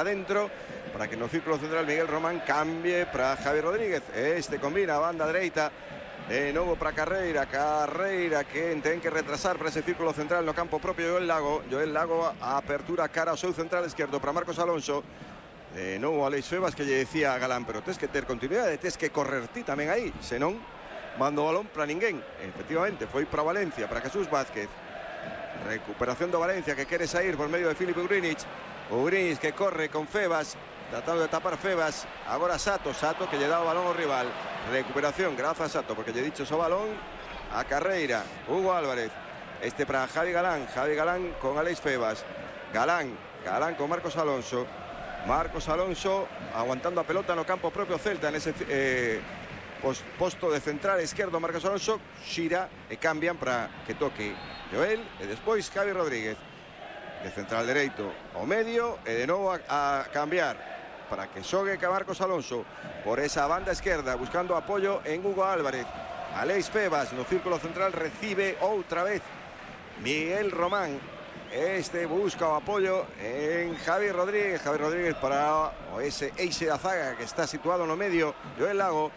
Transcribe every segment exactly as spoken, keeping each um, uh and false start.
adentro, para que no círculo central Miguel Román cambie para Javi Rodríguez. Este combina banda dereita de novo para Carreira, Carreira que ten que retrasar para ese círculo central no campo propio Joel Lago, Joel Lago a apertura cara ao seu central esquerdo para Marcos Alonso. De novo Aleix Febas que lle decía a Galán, pero tes que ter continuidade, tes que correr ti tamén aí, senón mando o balón para ninguén. Efectivamente, foi para Valencia, para Jesús Vázquez. Recuperación do Valencia que quere sair por medio de Filip Ugrinic. Ugrinic que corre con Febas, tratando de tapar Febas. Agora Sato, Sato que lle dá o balón ao rival. Recuperación, grazas Sato, porque lle dicho o balón a Carreira. Hugo Álvarez, este para Javi Galán. Javi Galán con Aleix Febas. Galán, Galán con Marcos Alonso. Marcos Alonso aguantando a pelota no campo propio Celta en ese eh, post, posto de central esquerdo. Marcos Alonso xira e cambian para que toque Joel e despois Javi Rodríguez de central dereito ao medio e de novo a, a cambiar para que xogue que Marcos Alonso por esa banda esquerda buscando apoio en Hugo Álvarez. Aleix Febas no círculo central recibe outra vez Miguel Román. Este busca o apoio en Javi Rodríguez. Javi Rodríguez para ese eixe da zaga que está situado no medio. Joel Lago.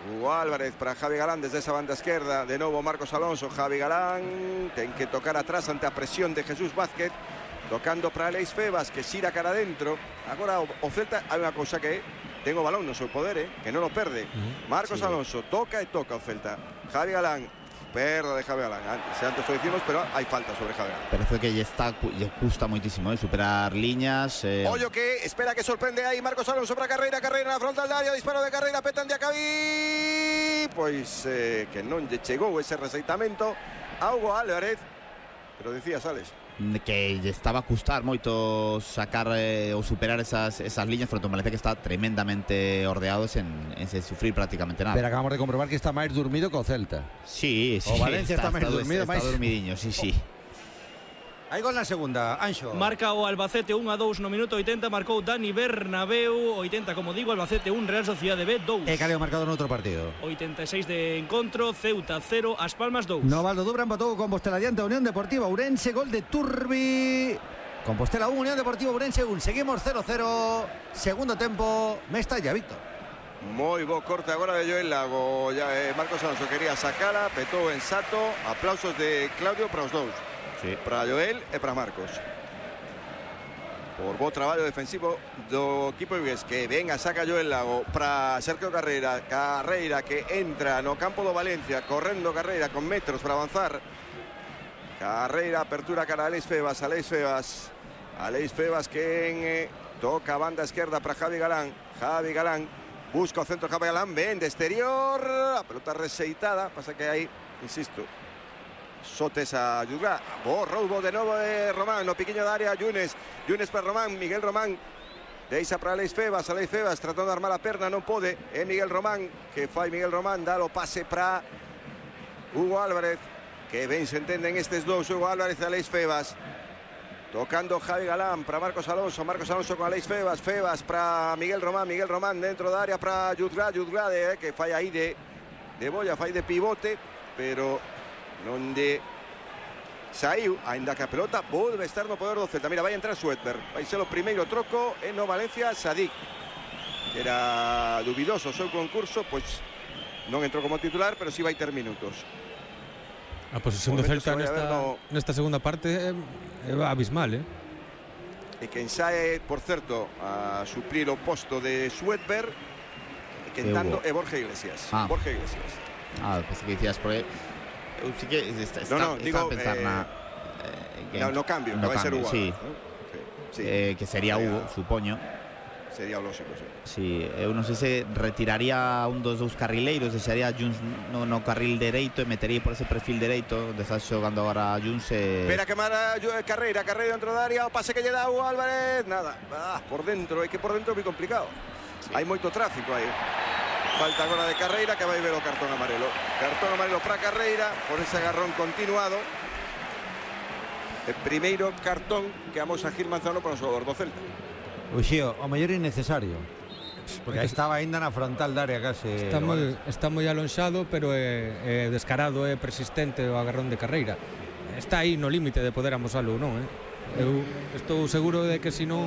Hugo Álvarez para Javi Galán desde esa banda esquerda. De novo Marcos Alonso. Javi Galán ten que tocar atrás ante a presión de Jesús Vázquez. Tocando para Aleix Febas que xira cara adentro. Agora o, o Celta hai unha cousa que ten o balón no seu poder, eh, que non o perde. Marcos sí. Alonso toca e toca o Celta. Javi Galán. Perda de Javi Galán, antes, antes lo decimos, pero hay falta sobre Javi Galán. Parece que ya está, ya cuesta muchísimo, ¿eh? Superar líneas. Eh... Ollo que espera que sorprende ahí Marcos Alonso para Carreira, Carreira na frontal de área, disparo de Carreira, petan de Acabí. Pois eh, que non lle chegou ese receitamento a Hugo Álvarez, pero decías, Alex. Que lle estaba a custar moito sacar eh, ou superar esas, esas líneas fronte ao Valencia que está tremendamente ordeado sen, en sen sufrir prácticamente nada. Pero acabamos de comprobar que está máis dormido que o Celta. Sí, sí. O Valencia está, está máis dormido, está, máis está dormidiño, sí, sí. Hai gol na segunda, Anxo. Marca o Albacete un a dous no minuto oitenta, marcou Dani Bernabéu, oitenta, como digo, Albacete un, Real Sociedade B dous. E caleo marcado no outro partido. oitenta e seis de encontro, Ceuta cero, As Palmas dous. Novaldo Dubra empatou con Compostela diante a Unión Deportiva Ourense, gol de Turbi. Compostela un, Unión Deportiva Ourense un. Seguimos cero cero, segundo tempo, Mestalla, Víctor. Moi bo corte agora de Joel Lago. Ya, eh, Marcos Alonso quería sacala, petou en Sato. Aplausos de Claudio para os dous. Sí. Para Joel e para Marcos. Por bo traballo defensivo do equipo vigués. Que venga, saca Joel Lago para Sergio Carreira. Carreira que entra no campo do Valencia, correndo Carreira con metros para avanzar. Carreira, apertura cara a Aleix Febas. Aleix Febas. Aleix Febas que en, eh, toca banda esquerda para Javi Galán. Javi Galán busca o centro Javi Galán. Ven de exterior. La pelota reseitada. Pasa que aí, insisto, Sotes a Yudra, bo roubo de novo de Román, no piquiño de área, Yunes, Yunes para Román, Miguel Román, deixa para Aleix Febas, Aleix Febas tratando de armar a perna, non pode, é Miguel Román, que fai Miguel Román, dá o pase para Hugo Álvarez, que ben se entenden estes dous, Hugo Álvarez e Aleix Febas, tocando Javi Galán para Marcos Alonso, Marcos Alonso con Aleix Febas, Febas para Miguel Román, Miguel Román dentro da área para Yudra, Yudra eh, que fai aí de, de bolla, fai de pivote, pero non de saiu, ainda que a pelota volve estar no poder do Celta. Mira, vai entrar Suetberg, vai ser o primeiro troco en no Valencia. Sadik, que era dubidoso o seu concurso, pois non entrou como titular, pero si vai ter minutos. A posición do Celta nesta, no... nesta segunda parte é abismal, eh? E quen sae, por certo, a suplir o posto de Suetberg, e que entrando é Borja Iglesias. Ah. Borja Iglesias. Ah, pues que dicías por aí. Sí que está, está, no, no, está digo, a pensar eh, na, eh, que, no, no cambio, no vai ser Hugo, sí. ¿no? Sí, sí. Eh, que sería sería, Hugo, supoño. Sería o lógico, sí. Sí, eu non sei se retiraría un dos dous carrileiros, deixaría Juns no, no carril dereito e metería por ese perfil dereito, onde está xogando agora Juns e... Espera que mara Carreira, Carreira dentro da área, o pase que lle dá Hugo Álvarez, nada, ah, por dentro, é que por dentro é moi complicado. Sí. Hai moito tráfico aí. Falta agora de Carreira que vai ver o cartón amarelo. Cartón amarelo para Carreira por ese agarrón continuado. El primeiro cartón que vamos a Gil Manzano para o xogador do Celta. Uxío, o mellor innecesario. Porque estaba aínda na frontal da área case. Está moi, está moi alonxado, pero é, é descarado, é persistente o agarrón de Carreira. Está aí no límite de poder amosalo, non, eh? Eu estou seguro de que se non